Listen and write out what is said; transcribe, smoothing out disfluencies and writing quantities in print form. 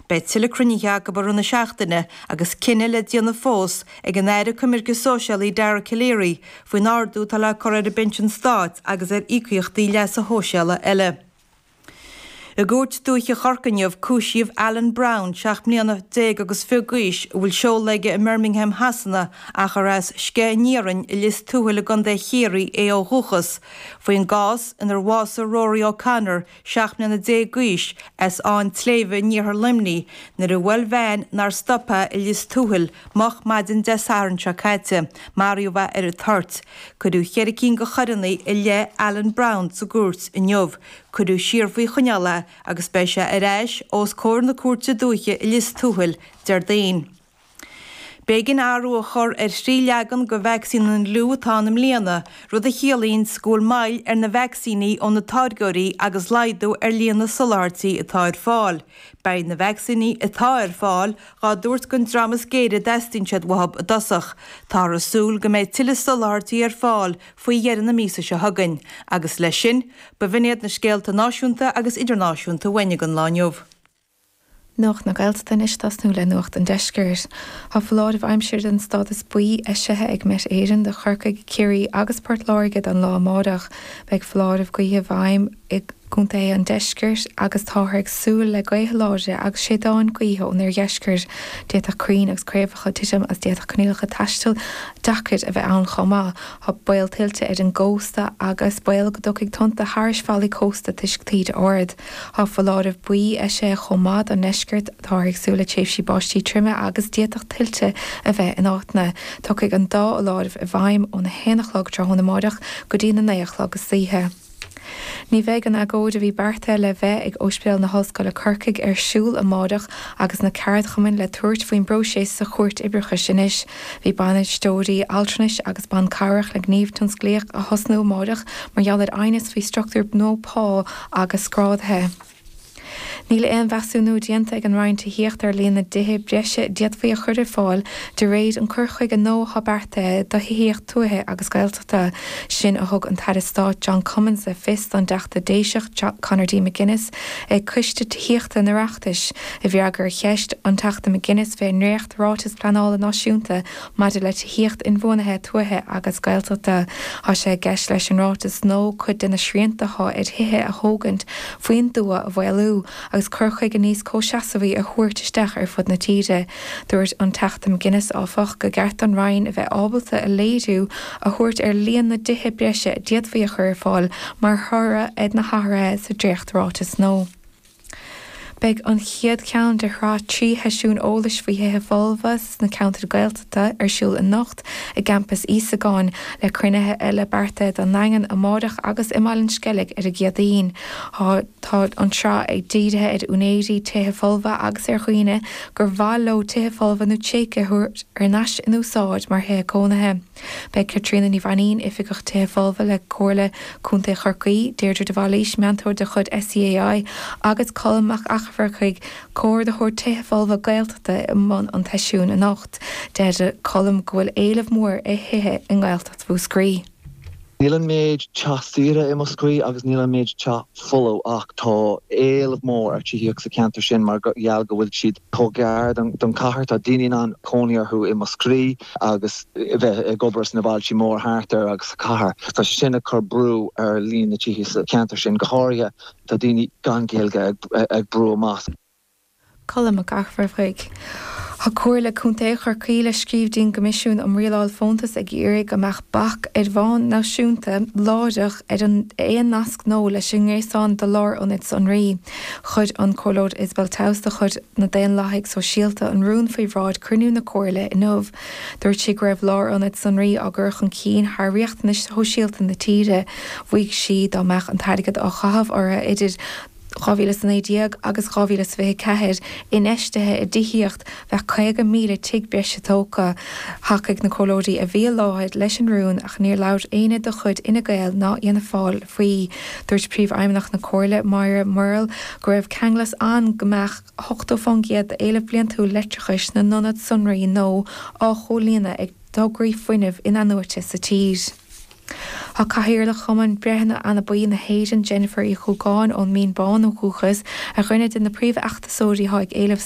Beidh tuilleadh cruinnithe acu i rith na seachtaine agus cinneadh le déanamh fós ag an Aire Coimirce Sóisialaí Dara Calleary faoin ardú atá le cur ar an bPinsean Stáit agus ar íocaíochtaí leasa shóisialaigh eile. I gCúirt Dúiche Chorcaí inniu, cúisíodh Alan Brown, 17 mbliana agus fiche d'aois, a bhfuil seoladh aige i mBirmingham Shasana ach ar as Sceith an Iarainn i Lios Tuathail i gContae Chiarraí é ó dhúchas, faoin gcás inar bhásaigh Rory O'Connor, 17 mbliana d'aois, as Áth an tSléibhe in iarthar Luimnigh, nuair a bhuail veain nár stop é i Lios Tuathail moch maidin Dé Sathairn seo caite. Maraíodh é ar an toirt. Cuireadh cheithre cinn de choireanna i leith Alan Brown sa gcúirt inniu. Cuireadh siar faoi choinneáil é agus beidh sé ar ais os comhair na Cúirte Dúiche i Lios Tuathail Déardaoin. B'éigean athrú a chur ar thrí leagan de vacsaín an fhliú atá ann i mbliana, rud a chiallaíonns go bhfuil moill ar na vacsaíní ó na táirgeoirí agus laghdú ar líon na soláthairtí atá ar fáil. Beidh na vacsaíní atá ar fáil dhá dtabhairt don dream is géire a dteastaíonn siad uathu i dtosach. Táthar ag súil go mbeidh tuilleadh soláthairtí ar fáil faoi dheireadh na míosa seo chugainn. Agus leis sin, b'in iad na scéalta náisiúnta agus idirnáisiúnta uainn don lá inniu. Nuacht na Gaeltachta anois ag tosnú le Nuacht an Deiscirt. Tá foláireamh aimsire den stádas buí eisithe ag Met Éireann do Chorcaigh, Ciarraí agus Port Láirge don lá amárach. Beidh foláireamh gaoithe i bhfeidhm i gcontaetha an deiscirt agus táthar ag súil le gaotha láidre agus séideáin gaoithe ón oirdheisceart. D'fhéadfadh crainn agus craobhacha titim agus d'fhéadfadh coinníollacha taistil deacair a bheith ann chomh maith. Tá baol tuilte ar an gcósta agus baol go dtiocfaidh tonnta thairis fallaí cósta toisc taoide ard. Tá foláireamh buí eisithe chomh maith don ndeisceart, táthar ag súil le tréimhsí báistí troime agus d'fhéadfadh tuilte a bheith in áiteanna. Tiocfaidh an dá fholáireamh i bhfeidhm óna haon a chlog tráthnóna amáireach go dtí na naoi a chlog istoíche. Ní bheidh an agóid a bhí beartaithe le bheith ag Ospidéal na hOllscoile Corcaigh ar siúl amáireach agus na ceardchumainn le tabhairt faoin bpróiseas sa Chúirt Oibreachais anois. Bhí bainisteoirí altranais agus ban cabhrach le gníomh tionsclaíoch a thosnú amáireach mar gheall ar aighneas faoi struchtúr nua pá agus grádaithe. Níl aon mheasúnú déanta ag an Roinn Tithíochta ar líon na dtithe breise a d'fhéadfaí a chur ar fáil de réir an cur chuige nua atá beartaithe do thithíocht tuaithe agus Gaeltachta. Sin a thug an tAire Stáit John Cummins le fios don dTeachta Déiseach Conor D. McGuinness ag Coiste Tithíochta an Oireachtais i bhfreagra ar cheist an Teachta McGuinness fén ndréacht Ráiteas Pleanála Náisiúnta maidir le tithíocht inbhuanaithe tuaithe agus Gaeltachta. Tá sé i gceist leis an ráiteas nua cuid de na srianta atá ar thithe a thógaint faoin dtuath a mhaolú agus cur chuige níos comhsheasmhaí a thabhairt isteach ar fud na tíre. Dúirt an Teachta McGuinness, áfach, gur cheart don Roinn a bheith ábalta a léiriú a thabhairt ar líon na dtithe breise a d'fhéadfaí a chur ar fáil mar thoradh ar na hathruithe sa dréacht-ráiteas nua. Beidh an chéad cheann de shraith 3 sheisiún eolais faoi thithe folmha sna ceantair Ghaeltachta ar siúl anocht i gCampas Íosagáin, le cruinnithe eile beartaithe don nDaingean amáireach agus i mBaile an Sceilg ar an gCéadaoin. Tá an tsraith ag dírithe ar úinéirí tithe folmha agus ar dhaoine gur mhaith leo tithe folmha nó tréigthe a thabhairt ar ais in úsáid mar thithe cónaithe. Beidh Caitríona Ní Mhainín, Oifigeach Tithe Folmha le Comhairle Contae Chorcaí, Deirdre de Bhailís, Meantóir de chuid SEAI, agus Colm Mac Eachmharcaigh, Comhordaitheoir Tithe Folmha Gaeltachta i mbun an tseisiúin anocht. Deir Colm go bhfuil éileamh mór ar thithe i nGaeltacht Mhúscraí. Níl an méid teach saoire i Múscraí agus níl an méid teach folamh ach tá éileamh mór ar tithíocht sa cheantar sin mar gheall go bhfuil siad chomh gar don chathair. Tá daoine in ann cónaí orthu i Múscraí agus bheith ag obair sna bailtí mór thart air agus sa chathair. Tá sé sin ag cur brú ar líon na tithe sa cheantar sin. Go háirithe tá daoine gan Gaeilge ag brú amach. Colm Mac Eachmharcaigh. Tá Comhairle Contae Chorcaí le scríobh dtí'n gCoimisiún um Rialáil Fóntas ag iarraidh go mbeadh bac ar bhonn náisiúnta láithreach ar aon nasc nua leis an ngréasán do lárionaid sonraí. Chuir an Comhairleoir Isabel Towse de chuid na Daonlathaigh Sóisialta an rún faoi bhráid cruinniú na Comhairle inniu. Dúirt sí go raibh lárionaid sonraí á gcur chun cinn thar riachtanais shóisialta na tíre. Mhaígh sí dá mbeadh an t-airgead á chaitheamh orthu idir 2019 agus 2024, infheistithe i dtithíocht, bheadh 50,000 tigh breise tógtha. Thacaigh na comhairleoirí a bhí i láthair leis an rún ach níor labhair éinne de chuid Fhine Gael ná Fhianna Fáil faoi. Dúirt Príomhfheidhmeannach na Comhairle, Máire Murrell, go raibh ceanglas ann go mbeadh 80% d'éileamh bliantúil leictreachais na n-ionad sonraí nua á chomhlíonadh ag tograí fuinnimh in-athnuaite sa tír. Tá Cathaoirleach Chumann Breitheanna Anabaí na hÉireann, Jennifer Uí Chuagáin, ón Mín Bán ó dhúchas, ar dhuine de na príomhfheachtasóirí atá ag éileamh.